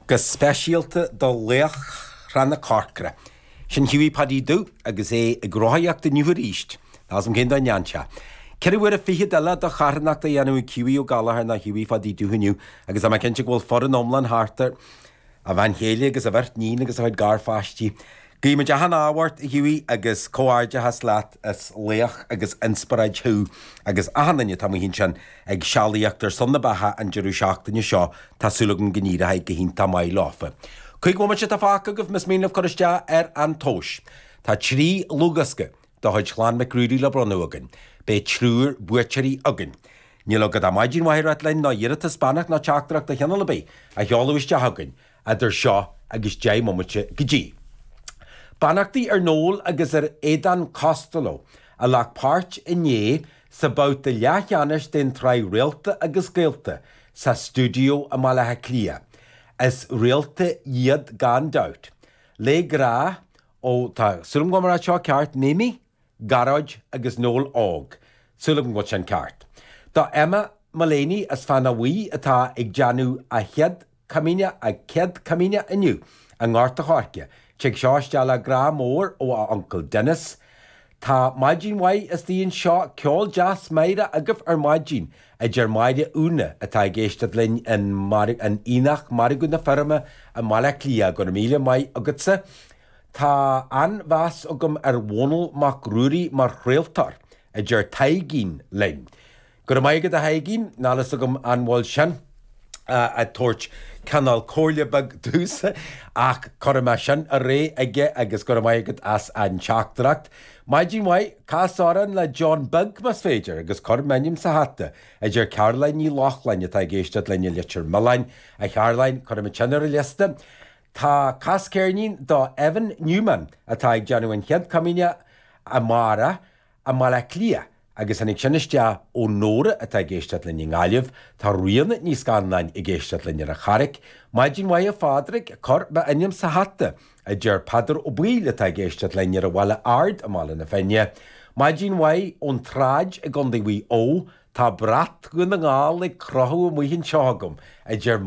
Go speisialta do laochra na Corcra. Sin Hughie Paddy Dubh agus é ag rothaíocht inniu arís. Níl 'fhios a'm cén dóigh a ndearna sé. Ceithre huaire fichead eile de charthanacht a dhéanamh ag Hughie Ó Gallchóir nó Hughie Phadaí Dubh inniu agus tá mé cinnte go bhfuil foireann iomlán thart air, a bhean chéile agus a bheirt níon agus a chuid garpháistí. Guímid achan ádh ort, a Hughie, agus comhghairdeachas leat, is laoch agus inspioráid thú agus achan duine atá amuigh ansin ag sealaíocht ar son na beatha an deireadh seachtaine seo, tá súil agam go n-éireoidh go hiontach maith leofa. 5 bhomaite atá fágtha agaibh más mian libh cur isteach ar an tomhas. Tá 3 dhlúthdhiosca de chuid Chlann Mhic Ruairí le bronnadh againn. Beidh triúr buaiteoirí againn. Níl agat ach maidin mhaith a ráit linn nó iarratas, beannacht nó teachtaireacht de chineál ar bith a sheoladh isteach chugainn idir seo agus 10 mbomaite go dtí. Beannachtaí ar Noel agus ar Aodán Costello a ghlac páirt inné sa babhta leathcheannais den tsraith Réalta agus Gaolta sa stiúideo i mBaile Átha Cliath. Is réalta iad gan dabht. Le grá ó, tá súil agam go bhfuil mé ag rá seo ceart, Mimi? Gearóid agus Noel Óg. Súil agam go bhfuil sin ceart. Do Emma Mullaney as Fánach Bhuí atá ag déanamh a chéad Comaoineach, a céad Comaoineach inniu i nGort a' Choirce. Tig seo isteach le grá mór ó a uncail Denis. Tá maidin mhaith istigh anseo, ceol deas meidhreach agaibh ar maidin, a deir Máire Úna atá ag éisteacht linn in Aonach Margadh na Feirme i mBaile Átha Cliath. Go raibh míle maith agatsa. Tá an-mheas agam ar Dhónall Mac Ruairí mar chraoltóir, a deir Taidhgín linn. Go raibh maith agat a Thaidhgín, níl fhios agam an bhfuil sin ag tabhairt cineál comhairle beag domhsa ach cuirfidh mé sin ar aghaidh aige agus go raibh maith agat as an teachtaireacht. Maidin mhaith, cas amhrán le John Beag más féidir agus cuir m'ainm sa hata, a deir Caroline Ní Lochlainn atá ag éisteacht linn i Leitir Mealláin. A Charoline, cuirfidh muid sin ar an liosta. Tá cas ceirnín do Evan Newman atá ag déanamh an chéad comaoineach amárach i mBaile Átha Cliath agus tháinig sin isteach ó Nóra atá ag éisteacht linn i nGaillimh. Tá Ríona Ní Scanláin ag éisteacht linn ar an Charraic. Maidin mhaith a Phádraig, cuir m'ainm sa hata, a deir Peadar Ó Baoill atá ag éisteacht linn ar an Bhaile Ard i mBaile na Finne. Maidin mhaith ón tSráid i gContae Mhaigh Eo, tá brat Dhún na nGall ag crochadh amuigh anseo agam, a deir.